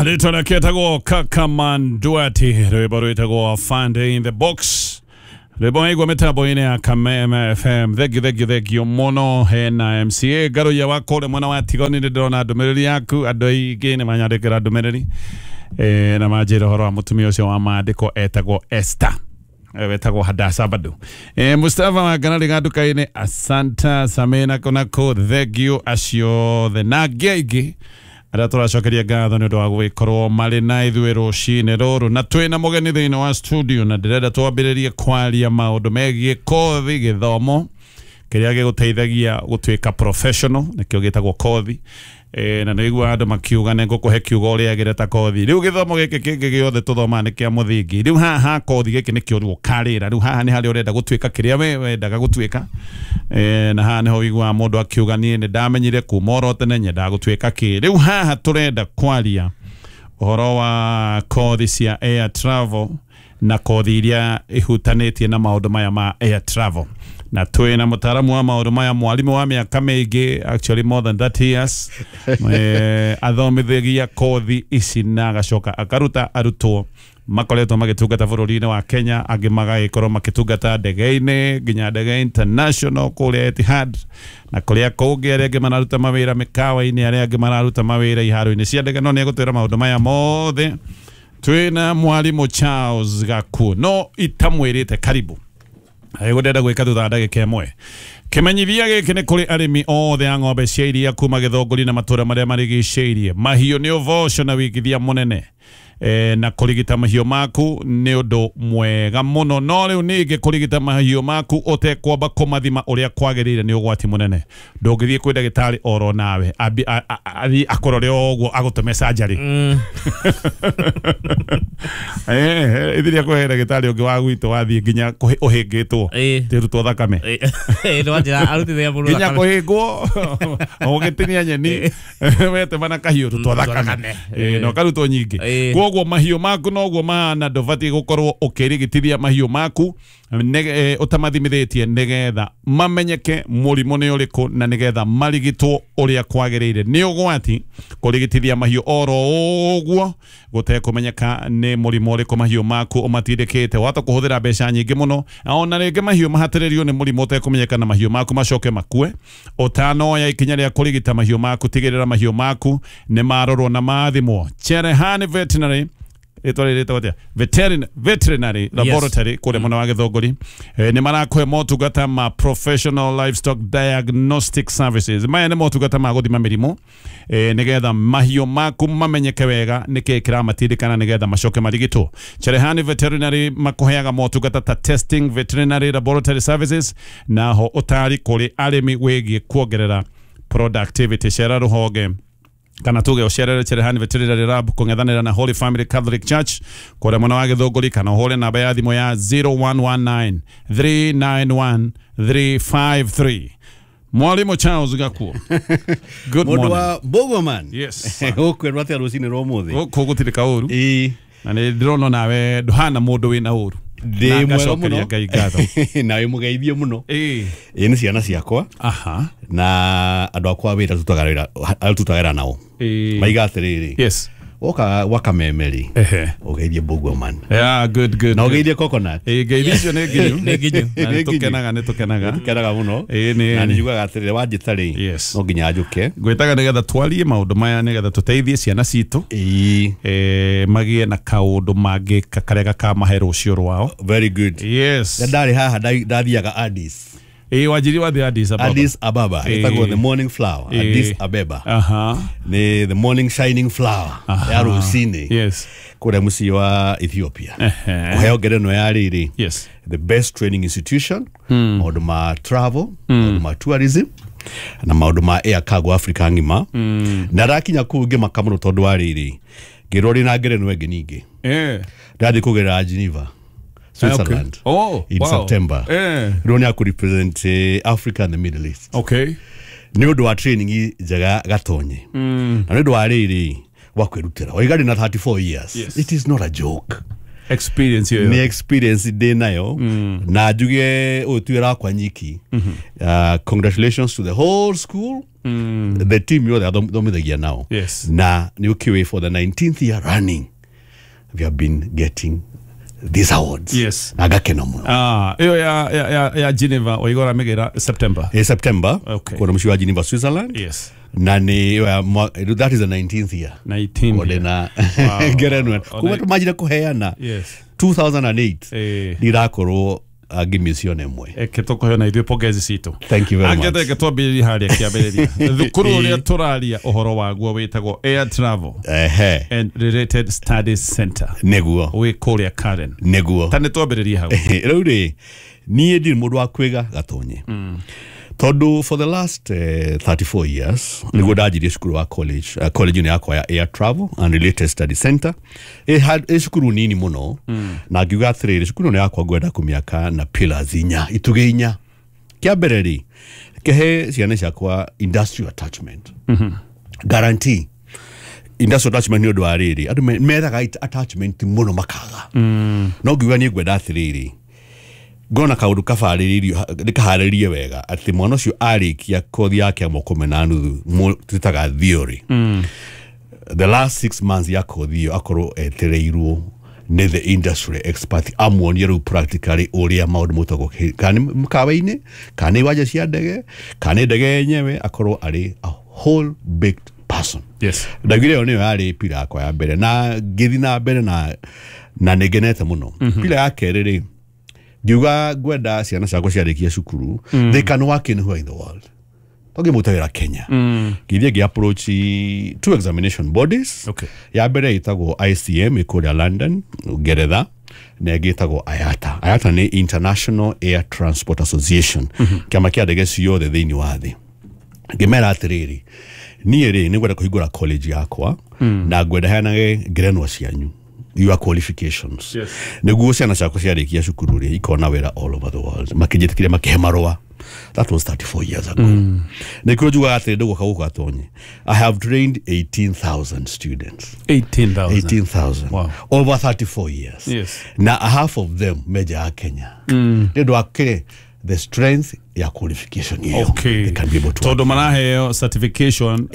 Rĩtwa rĩake etagwo Kakaman Duati, rwĩmbo rwĩtagwo Fund in the Box. Rwĩmbo waigua mĩtambo-inĩ ya Kameme FM. Thengiũ thengiũ thengiũ mũno. Hena MCA Ngaruiya wa kũrĩa mwena wa Tigoni, nĩ ndĩrona ndũmĩrĩri yaku. Andũ aingĩ nĩ manyandĩkĩra ndũmĩrĩri na manjĩra ũhoro wa mũtumia ũcio wa maandĩko etagwo Esther. Wetagwo Hadasa bado. Mustafa wa Kanali nduka-inĩ, asanta Samena konako, thengiũ acio othe na angĩ aingĩ arĩa tũracokeria ngatho nĩ ũndũ wa gũgĩkorwo marĩ na ithuĩ rũcinĩ rũrũ, na twĩna mũgeni thĩinĩ wa studio, na ndĩrenda twambĩrĩrie kwaria maũndũ megiĩ kothi, gĩthomo kĩrĩa gĩgũteithagia gũtuĩka professional, nĩkĩo gĩtagwo kothi. Na nĩguo andũ makiuga nĩ ngũkũhe kiugo ũrĩagĩre ta kothi. Rĩu gĩthomo gĩkĩ kĩngĩ gĩothe tũthomaga nĩ kĩa mũthingi. Rĩu haha kothi gĩkĩ nĩkĩo rĩu ũkarĩra. Rĩu haha nĩ harĩa ũrenda gũtuĩka kĩrĩa we wendaga gũtuĩka. Na haha nĩho ũiguaga mũndũ akiuga niĩ nĩ ndamenyire kuma oro tene nyendaga gũtuĩka kĩ. Rĩu haha tũrenda kwaria ũhoro wa kothi cia air travel na kothi iria ihutanĩtie na maũndũ maya ma air travel, na twĩna mũtaaramu wa maũndũ maya, mwarimũ wa mĩaka mĩingĩ, actually more than 30 years, athomithagia kothi ici na agacoka akaruta arutwo makoretwo magĩtungata bũrũri-inĩ wa Kenya, angĩ magagĩkorwo makĩtungata ndege-inĩ, nginya ndege international kũrĩa Etihad na kũrĩa kũngĩ, arĩa angĩ mararuta mawĩra mĩkawa-inĩ, arĩa angĩ mararuta mawĩra iharo-inĩ cia ndege. No nĩ egũtwĩra maũndũ maya mothe. Twĩna mwarimũ Charles Gakuo, no itamwĩrĩte karibu ndĩrenda gwĩka thutha wa ndagĩka ĩmwe. Kĩmenyithia gĩkĩ nĩ kũrĩ arĩmi othe a ng'ombe cia iria kuma Gĩthũngũri na matũra marĩa marigicĩirie. Mahiũ nĩ ũboco na wĩigithia mũnene, na kũrigita mahiũ maku nĩ ũndũ mwega mũno, no rĩu ningĩ kũrigita mahiũ maku ũtekwamba kũmathima ũrĩa kwagĩrĩire nĩ ũgwati mũnene. Ndũngĩthiĩ kwĩ ndagĩtarĩ oro nawe athiĩ akũrore o ũguo agũtũme surgery. Ithiria kũhe ndagĩtarĩ ũngĩ wa gwitũ wathiĩ nginya ũhĩngĩtwo tĩrutwo thakame. Nĩwanjĩra arutithia mũndũ nginya thakame. Kũhĩngwo ũgĩtinia nyeni wetema na kahiũ, rutwo thakame. Na ũkarutwo nyingĩ. Koguo mahiũ maku noguo mahana, ndũbatiĩ gũkorwo ũkĩrigitithia mahiũ maku ũtamathimithĩtie nĩgetha mamenyeke mũrimũ nĩ ũrĩkũ na nĩgetha marigitwo ũrĩa kwagĩrĩire. Nĩ ũgwati kũrigitithia mahiũ oro ũguo gũtekũmenyeka nĩ mũrimũ ũrĩkũ mahiũ maku ũmatindĩkĩte. Wahota kũhũthĩra mbeca nyingĩ mũno, na ona rĩngĩ mahiũ mahatĩrĩrio nĩ mũrimũ ũtekũmenyeka na mahiũ maku macoke makue. Ũtanoya ikinya rĩa kũrigita mahiũ maku, tigĩrĩra mahiũ maku nĩ marorwo na mathimwo. Cherehani Veterinary, rĩtwa rĩrĩ rĩtagwo atĩa? Veterinary Laboratory kũrĩa mwena wa Gĩthũngũri, nĩ marakũhe motungata ma professional livestock diagnostic services. Maya nĩ motungata ma gũthima mĩrimũ, nĩgetha mahiũ maku mamenyeke wega nĩkĩĩ kĩramatindĩkana nĩgetha macoke marigitwo. Cherehani Veterinary makũheaga motungata ta testing, veterinary laboratory services, naho ũtari kũrĩ arĩmi wĩgiĩ kuongerera productivity. Cera rũhonge kana tuge ũcerere Cherehani Veterinary Lab kũng'ethanĩra na Holy Family Catholic Church kũrĩa mwena wa Gĩthũngũri, kana ũhũre namba ya thimũ ya 0119 391 353. Mwalimu Charles Gakuo, good Mũndũ morning. Wa Bogoman. Yes. Ũkwĩrwo atĩa rũcinĩ rwa ũmũthĩ? Gũkũ gũtirĩ kaũru. Na nĩ ndĩrona nawe ndũhana mũndũ wĩna ũru. Ndĩ Na mwega ngacokeria mũno. Ngai ngatho. Na wĩ mũgeithie mũno. Ĩ nĩ ciana ciakwa na andũ akwa a wĩra tũrutaga wĩra nao. Maiga atĩrĩrĩ, woka gwa Kameme rĩ, ũgeithie Bogoman. Yeah, good, good. Na Good. ũgeithie Coconut. Ngeithi icio nĩ nginyu. Nĩ nginyu. Na nĩ Nĩ nginyu. tũkenaga, nĩ tũkenaga. Tũkenaga mũno. Ĩĩ, Na nĩ nĩ njugaga atĩrĩrĩ, wanjĩta rĩ, no nginya njũke. Ngwĩtaga nĩgetha twarie maũndũ maya nĩgetha tũteithie ciana citũ magĩe na kaũndũ mangĩka karĩa gakamahe rũciũ rwao. Very good. Ndarĩ haha ndathiaga Addis. Ĩĩ, wanjiri wathiĩ Addis Ababa. Addis Ababa ĩtagwo the morning flower. Addis Abeba nĩ the morning shining flower ya rũcinĩ kũrĩa mũciĩ wa Ethiopia kũheo ngerenwa ya rĩrĩ, the best training institution maũndũ ma travel, maũndũ ma tourism na maũndũ ma air cargo Africa ng'ima. Na ndakinya kũu ngĩmaka mũno tondũ wa rĩrĩ, ngĩrwo rĩ na ngerenwa ĩngĩ ningĩ ndathiĩ kũgerera Geneva, Switzerland, in September. Rĩu nĩ akũrepresent Africa and the Middle East nĩ ũndũ wa training njega gatonye na nĩ ũndũ wa rĩrĩ wa kwĩrutĩra waiga ndĩ na 34 years. It is not a joke. Experience ĩyo. Nĩ experience ndĩ nayo na njuge ũyũ ti wĩra wakwa nyiki. Congratulations to the whole school, the team yothe athomithagia nao. Yes. Na nĩ ũkĩũĩ for the 19th year running we have been getting these awards. Yes. Na ngakena mũno. Ĩyo ya Geneva waigora mĩgĩra September. In September. Okay. Kũrĩa mũciĩ wa Geneva, Switzerland. Yes. Na nĩ that is the 19th year. 19th. Ndĩna ngerenwa kuma tũmanjire kũheana. Yes. 2008 ndirakorwo ngĩmĩciona ĩmwe. Eke tũkũheana ithuĩ pongezi citũ. Thank you very much. Angĩteke twambĩrĩrie harĩa kĩambĩrĩria. Thukuru ũrĩa tũraria ũhoro waguo wĩtagwo Air Travel and Related Studies Center. Nĩguo. Wĩ kũrĩa Karen. Nĩguo. Ta nĩ twambĩrĩrie hau. Rĩu rĩ, niĩ ndirĩ mũndũ wa kwĩga gatonye. Tondũ for the last 34 years nĩguo ndanjirie cukuru wa college, college-inĩ yakwa ya Air Travel and Related Studies Center. Ĩ cukuru nini mũno na ngiuga atĩrĩrĩ, cukuru ĩno yakwa ngwenda kũmĩaka na pillars inya, itugĩ inya. Kĩa mbere rĩ, kĩhe ciana ciakwa industrial attachment. Guarantee. Industrial attachment nĩ ũndũ wa rĩrĩ, andũ methaga attachment mũno makaga. No ngiuga niĩ ngwenda atĩrĩrĩ, ngona kaundu kabarĩrĩirio ndikaharĩrie wega atĩ mwana ũcio arĩkia kothi yake ya mwaka ũmwe na nuthu twĩtaga theory. The last 6 months ya kothi ĩyo akorwo etereirwo nĩ the industry expert amuonie rĩu practically ũrĩa maũndũ mũtagwo kana nĩ mũkawa-inĩ kana nĩ iwanja cia ndege kana nĩ ndege yenyewe, akorwo arĩ a whole baked person. Yes. Ndaugire ĩyo nĩyo yarĩ pira yakwa ya mbere na ngĩthiĩ na mbere na nĩngenete mũno. Pira ya kerĩ rĩ, ngiuga ngwenda ciana ciakwa ciarĩkia cukuru, they can work anywhere in the world. Tongĩmũta wĩra Kenya. Ngĩthiĩ ngĩ approach two examination bodies. Okay. Ya mbere ĩtagwo ICM ĩkũrĩa London, Ngeretha, na ĩngĩ ĩtagwo IATA. IATA nĩ International Air Transport Association. Kĩama kĩa ndege ciothe thĩinĩ wa thĩ. Ngĩmera atĩrĩrĩ, niĩ rĩ nĩngwenda kũhingũra college yakwa na ngwenda heanage ngerenwa cianyu, your qualifications. Yes. Nĩguo ciana ciakwa ciarĩkia cukuru rĩ ikona wĩra all over the world. Makĩnjĩtĩkĩria makĩhe marũa. That was 34 years ago. Nĩkĩo njugaga atĩrĩ, ndũgũka gũkũ gatonye. I have trained 18,000 students. 18,000. 18,000. Wow. Over 34 years. Yes. Na half of them meja ya Kenya. Nĩ ũndũ wa kĩrĩ the strength ya qualification ĩyo. Okay. They can be able to. Tondũ maraheo certification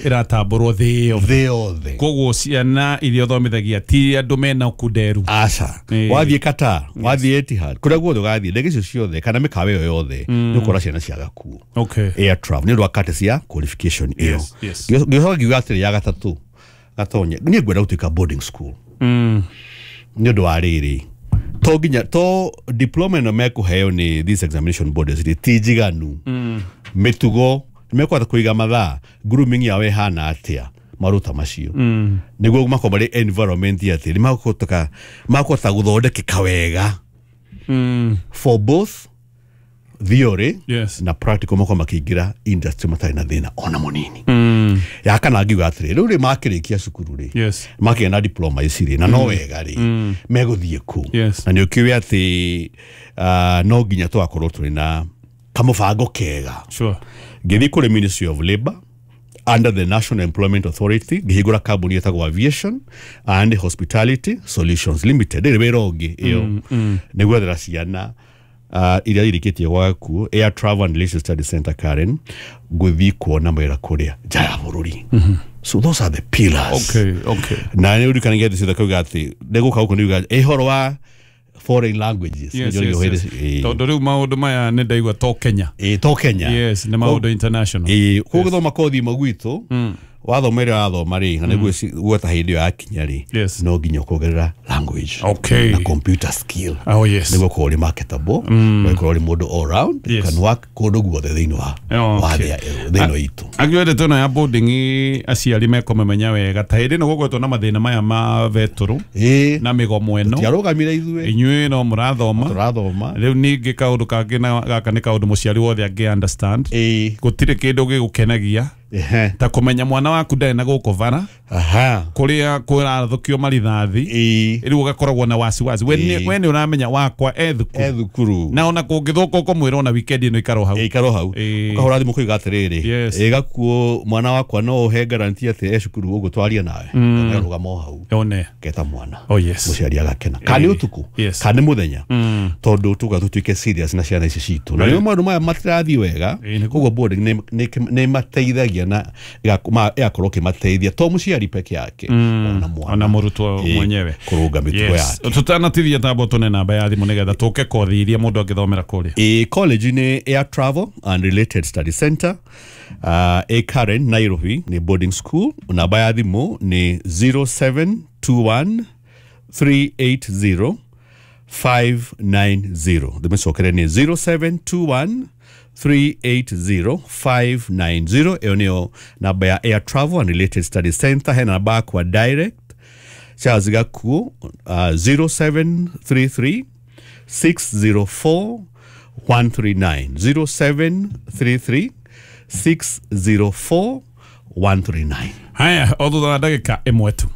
ĩratambũrwo thĩ yothe. Koguo ciana iria ũthomithagia ti andũ mena kunderu. Aca. Wathiĩ Qatar, wathiĩ Etihad, kũrĩa guothe ũgathiĩ, ndege icio ciothe kana mĩkawa ĩyo yothe nĩ ũkora ciana ciaga kuo. Okay. Air travel nĩ ũndũ wa courtesy ya qualification ĩyo. Yes, yes. Ngĩcoka ngiuga atĩrĩ, ya gatatũ gatonye, niĩ ngwenda gũtuĩka boarding school. Nĩ ũndũ wa rĩrĩ, to nginya to diploma ĩno mekũheo nĩ these examination bodies rĩ ti njiganu. Mĩtugo mekũhota kũiga mathaa, grooming yao ĩhana atĩa, maruta macio nĩguo makorwo marĩ environment atĩ nĩ makũhota gũthondekeka wega for both theory yes, na practical, makorwo makĩingĩra industry matarĩ na thĩna ona mũnini. Ya kana ngiuga atĩrĩ, rĩu rĩ makĩrĩkia cukuru rĩ, yes, makĩgĩa na diploma ici rĩ, na no wega rĩ megũthiĩ kũ. Yes. Na nĩ ũkĩũĩ atĩ no nginya tũgakorwo tũrĩ na kamũbango kega. Sure. Ngĩthiĩ kũrĩ Ministry of Labour under the National Employment Authority, ngĩhingũra kambuni ĩtagwo Aviation and Hospitality Solutions Limited. Ĩrĩ wĩra ũngĩ ĩyo nĩ gwethera ciana iria irĩkĩtie gwaku Air Travel and Leisure Studies Center Karen gũthiĩ kuona mawĩra kũrĩa nja ya bũrũri. So those are the pillars. Okay, okay. Na nĩ ũririkanagia thĩ ciothe kauga atĩ ndĩgũka gũkũ nĩuga ĩhoro wa foreign languages. Yes, yes, yes. Tondũ rĩu maũndũ maya nĩ ndaigua to Kenya. To Kenya. Yes, nĩ maũndũ international. Koguo gũthoma kothi ĩmwe gwitũ, wathoma ĩrĩa wathoma rĩ, na nĩguo gweta hĩndĩ ĩyo yakinya rĩ, Yes, no nginya ũkongerera language. Okay. Na computer skill. Oh, yes. Nĩguo ũkorwo ũrĩ marketable, no ũkorwo ũrĩ mũndũ all round, Yes. you can work kũndũ guothe thĩinĩ wa Okay. thĩ ĩno itũ. Angĩwende tũna ya boarding aciari mekũmĩmenya wega ta hĩndĩ ĩno gũgwetwo na mathĩna maya ma betũrũ na mĩgomo ĩno. Tiarũgamire ithuĩ. Inyuĩ no mũrathoma. Tũrathoma. Rĩu ningĩ kaũndũ kangĩ na gaka nĩ kaũndũ mũciari wothe angĩ understand. Gũtirĩ kĩndũ gĩgũkenagia ta kũmenya mwana waku ndarĩ na gũkũ bara. Aha. Kuria kurathukio marithathi riu ugakoragwo na wasiwasi we nĩ ũramenya wakwa e thukuru, e thukuru na ona kũngĩthũka ũkũmwĩra ona weekend ĩno ikaro hau, ikaro hau, ukahũra thimũ kũiga atĩrĩrĩ, Yes. Gakuo mwana wakwa no ũhe guarantee atĩ e cukuru ũgũtwaria nawe, rũgama o hau one keta mwana. Oh, yes. Mũciari agakena kana nĩ ũtukũ Yes. kana nĩ mũthenya, tondũ tuga tũtuĩke serious na ciana ici citũ, na rĩu maũndũ maya matirathiĩ wega, koguo boarding nĩ mateithagia na ĩgakorwo ĩkĩmateithia to mũciari peke yake, ona mwana, ona mũrutwo mwenyewe kũrũnga mĩtugo Yes. yake. Tutanatithia tambo tune namba ya thimũ nĩgetha tũke kothi iria mũndũ angĩthomera kũrĩa. College nĩ Air Travel and Related Study Center, ĩ Karen, Nairobi, nĩ boarding school. Namba ya thimũ nĩ 0721 380 590. Ndĩmĩcokere nĩ 0721 380 590. Ĩyo nĩyo namba ya Air Travel and Related Study Center. Hena namba yakwa direct, Charles Gakuo, 0733 604 139, 0733 604 139. Haya, o thutha wa ndagĩka ĩmwe tu.